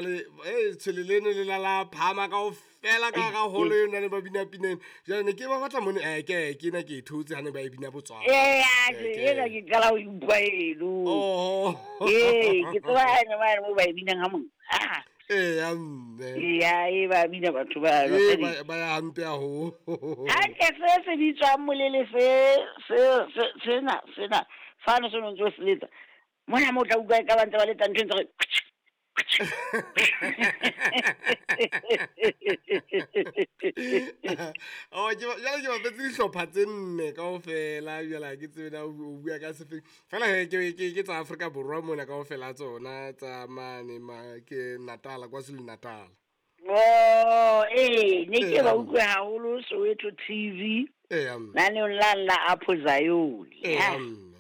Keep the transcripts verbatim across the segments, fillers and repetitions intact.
E tshwele leno le la la phama kaofela ka hara holo eno ne ba bina pineng. Jwale ne ke ba batla mone eh ke ke ena ke e thotse ha ne ba e bina Botswana. Ee, ena ke qala ho utlwa eno. Oh. Ee, ke tseba ene mane moo ba e binang ha mong. Ah. Eya mme. Eya, e ba bina batho ba. Ee, ba ba ya hampe haholo. Hantle se se bitswang molele se se se sena sena fano se no ntse o se letsa. Mona mo tla utlwa e ka ba ntse ba letsa ntho e ntse re Oh, ke jwale ke bapetse dihlopha tse nne kaofela, jwale ha ke tsebe na o bua ka sefeng. Fela he ke ke ke tsa Afrika Borwa mona kaofela tsona tsa mane ma ke Natal, KwaZulu Natal. Oh, ee, ne ke ba utlwe haholo Soweto T V. Eya mme. Naneong la la Apho Zion. Eya mme.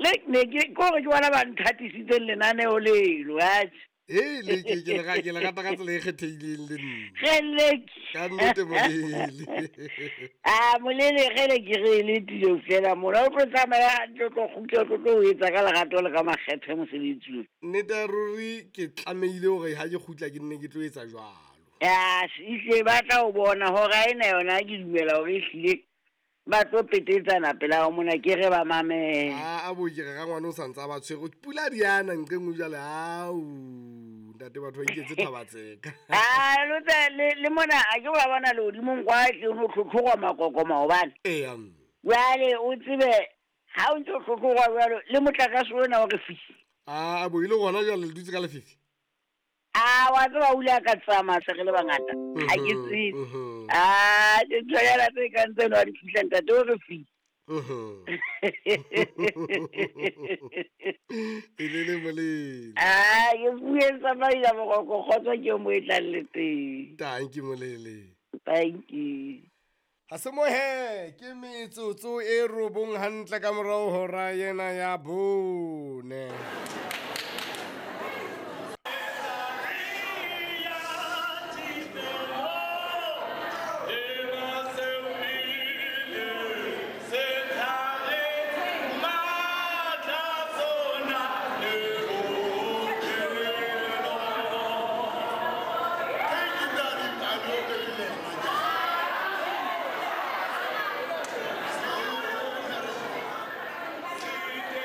Le ne ke kore ke bona ba nthatisitseng lenaneo leno, atjhe. Hei, le ke ke le ke le rata ka tsela e kgethehileng le nna. Kgeleke. Ka nnete molele. Ah, molele kgele ke re le tilo fela mona o tlo tsamaya hantle, o tlo kgutla, o tlo tlo o etsa ka lerato le ka makgethe mosebetsing. Nnete ya ruri ke tlamehile hore ha ke kgutla ke nne ke tlo etsa jwalo. Ya, ehlile ba tla o bona hora ena yona ke dumela hore ehlile ba tlo petetsana pela ho mona ke re ba mamele. Ah, a bo ke re rangwane o santsa ba tshwere pula di ana nqeng o jwale au ntate batho ba iketse thabatseka. Ah, lo tse le le mona a ke wa bona le hodimong kwa tle no tlhotlhogwa makoko maobane. Eya. Jwale o tsebe ha o ntse o tlhotlhogwa jwalo le motlakase ona o re fifi. Ah, a bo ile gona jwale le dutse ka lefifi. Ah, wa tseba o ile a ka tsamaya se re le bangata. Ha ke tsebe. Ah, dinthonyana tse kang tseno ha di fihla ntate o re fifi. Mhm. E le le molele. Ah, ke bue tsamaisa boroko kgotso ke mo e tlang le teng. Thank you molele. Thank you. Ha se mohe ke metsotso e robong hantle ka morao hora ena ya bone.